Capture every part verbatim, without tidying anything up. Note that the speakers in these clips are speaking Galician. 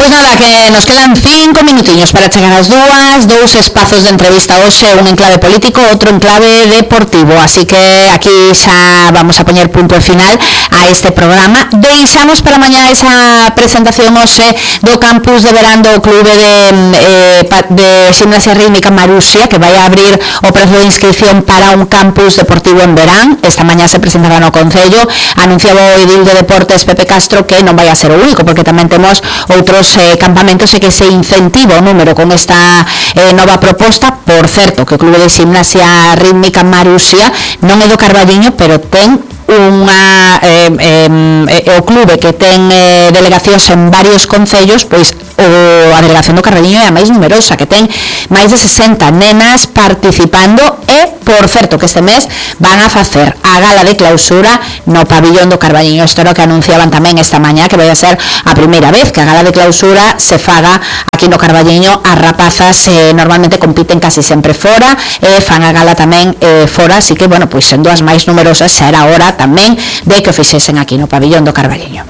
Pois nada, que nos quedan cinco minutinhos para chegar ás dúas, dous espazos de entrevista hoxe, un en clave político, outro en clave deportivo, así que aquí xa vamos a poñer punto final a este programa. Deixamos para mañá esa presentación hoxe do campus de verán do clube de, eh, de Ximnasia Rítmica Marusia, que vai a abrir o prazo de inscripción para un campus deportivo en verán. Esta mañá se presentará no Concello, anunciaba o edil de Deportes Pepe Castro que non vai a ser o único, porque tamén temos outros eh, campamentos e que se incentiva o número con esta eh, nova proposta. Por certo, que o clube de Ximnasia Rítmica Marusia non é do Carballiño, pero ten unha eh, eh, o clube que ten eh, delegacións en varios concellos, pois o, a delegación do Carballiño é a máis numerosa, que ten máis de sesenta nenas participando. E, por certo, que este mes van a facer a gala de clausura no pabillón do Carballiño. Isto era o que anunciaban tamén esta mañá, que vai a ser a primeira vez que a gala de clausura se faga aquí no Carballiño. As rapazas eh, normalmente compiten casi sempre fora, e eh, fan a gala tamén eh, fora, así que, bueno, pois sendo as máis numerosas, xa era hora tamén de que o fixesen aquí no pabillón do Carballiño.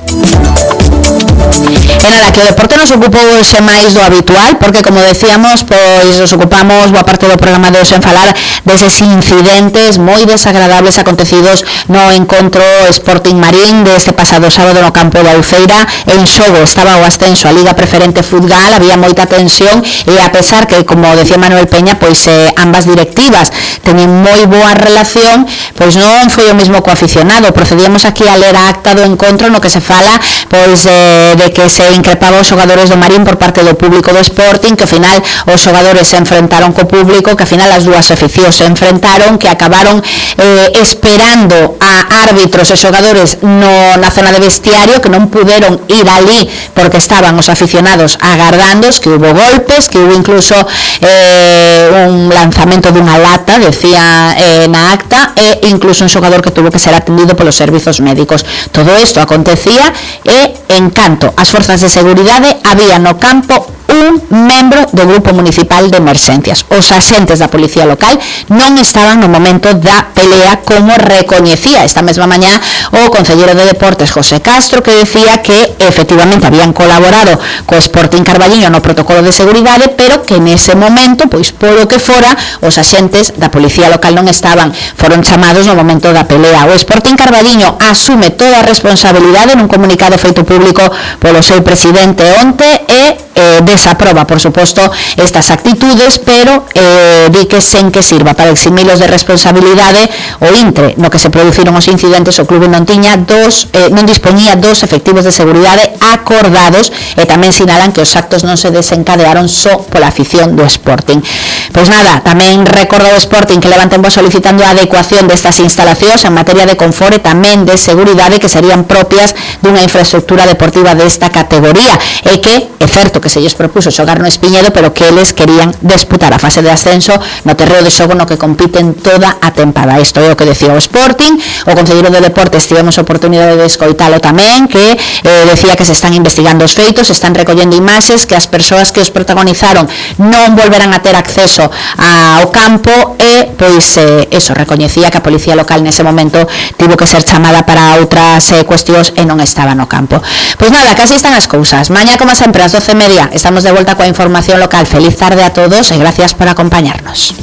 E nada, que o deporte nos ocupou hoxe máis do habitual, porque, como decíamos, pois nos ocupamos boa parte do programa de hoxe en falar deses incidentes moi desagradables acontecidos no encontro Sporting Marín deste pasado sábado no campo da Uceira. En xogo estaba o ascenso a Liga Preferente Futgal, había moita tensión, e a pesar que, como decía Manuel Peña, pois eh, ambas directivas teñen moi boa relación, pois non foi o mesmo co aficionado. Procedíamos aquí a ler a acta do encontro no que se fala pois eh, de que se increpaba os xogadores do Marín por parte do público do Sporting, que ao final os xogadores se enfrentaron co público, que ao final as dúas aficións se enfrentaron, que acabaron eh, esperando a árbitros e xogadores no, na zona de vestiario, que non puderon ir ali porque estaban os aficionados agardándos, que hubo golpes, que hubo incluso eh, un lanzamento dunha lata, decía eh, na acta, e incluso un xogador que tuvo que ser atendido polos servizos médicos. Todo isto acontecía e, en canto as forzas de seguridade, había no campo un membro do grupo municipal de emerxencias. Os axentes da policía local non estaban no momento da pelea, como recoñecía esta mesma mañá o concelleiro de Deportes José Castro, que decía que efectivamente habían colaborado co Sporting Carballiño no protocolo de seguridade, pero que nese momento, pois polo que fora, os axentes da policía local non estaban, foron chamados no momento da pelea. O Sporting Carballiño asume toda a responsabilidade nun comunicado feito público polo seu presidente onte, e eh, desaproba, por suposto, estas actitudes, pero eh, di que sen que sirva para eximilos de responsabilidade o intre no que se produciron os incidentes, o clube non tiña dos, eh, non dispoñía dos efectivos de seguridade acordados, e tamén sinalan que os actos non se desencadearon só pola afición do Sporting. Pois nada, tamén recorda o Sporting que levanten voz solicitando a adecuación destas instalacións en materia de confort e tamén de seguridade, que serían propias dunha infraestructura deportiva desta categoría, e que é certo que se lles propuso xogar no Espiñedo, pero que eles querían disputar a fase de ascenso no terreo de xogo no que compiten toda a tempada. Isto é o que decía o Sporting. O concelleiro de Deportes tivemos a oportunidade de escoitalo tamén, que eh, decía que se están investigando os feitos, se están recollendo imaxes, que as persoas que os protagonizaron non volverán a ter acceso ao campo, e pois eh, eso, recoñecía que a policía local nese momento tivo que ser chamada para outras eh, cuestións e non estaba no campo. Pois nada, casi están as cousas. Mañá, como sempre, ás doce e media estamos de volta coa información local. Feliz tarde a todos e gracias por acompañarnos.